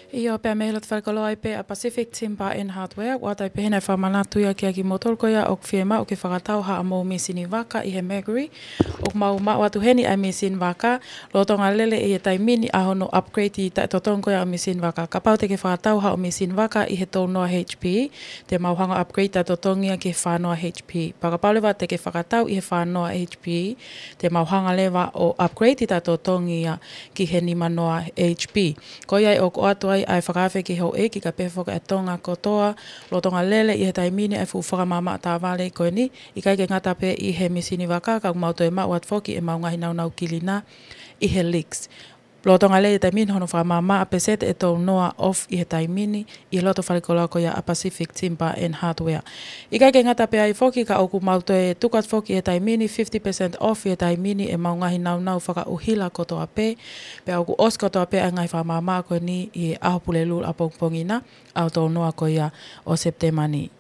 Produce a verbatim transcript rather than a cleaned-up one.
ʻIo, pea mei he loto falekoloa ai pē ʻa Pacific Timber and Hardware, ʻoku ʻoatu ai pē heni ʻa e fakamanatu ia kiate kimoutolu ko ia ʻoku fiemaʻu ke fakatau haʻamou mīsini vaka ʻi he Mercury. ʻOku mau maʻu atu heni ʻa e mīsini vaka, lolotonga lele ʻi he taimi ni ʻa hono upgrade taʻetotongi ko ia ʻo e mīsini vaka. Kapau te ke fakatau haʻo mīsini vaka ʻi he tolu noa H P, te mau hanga upgrade taʻetotongi ia ki he fā noa H P. Pea kapau leva te ke fakatau ʻi he fā noa H P, te mau hanga leva ʻo upgrade taʻetotongi ia ki he nima noa H P. Ko ia ai ʻoku ʻoatu ai ʻa e fakaafe ki he houʻeiki kae pehē foki ʻa Tonga kotoa, lolotonga lele ʻi he taimi ni ʻa e fuʻu fakamaʻamaʻa taʻavale ko eni, ʻikai ke ngata pē ʻi he mīsini vaka, ka ʻoku mau toe maʻu atu foki ʻemau ngaahi naunau kilinā ʻi he Leeks. Lolotonga lele ʻi he taimi ni hono fakamaʻamaʻa, pēseti ʻe tolu noa off ʻi he taimi ni, ʻi he loto falekoloa ko ia ʻa Pacific Timber and Hardware. ʻIkai ke ngata pē ai foki, ka ʻoku mau toe tuku atu foki ʻi he taimi ni fifty percent off ʻi he taimi ni ʻemau ngaahi naunau fakaʻuhila kotoa pē, pea ʻoku ʻosi kotoa pē ʻa e ngaahi fakamaʻamaʻa ko eni ʻi he ʻaho Pulelulu ʻapongipongi na, ʻaho tolu noa ko ia ʻo Sepitema ni.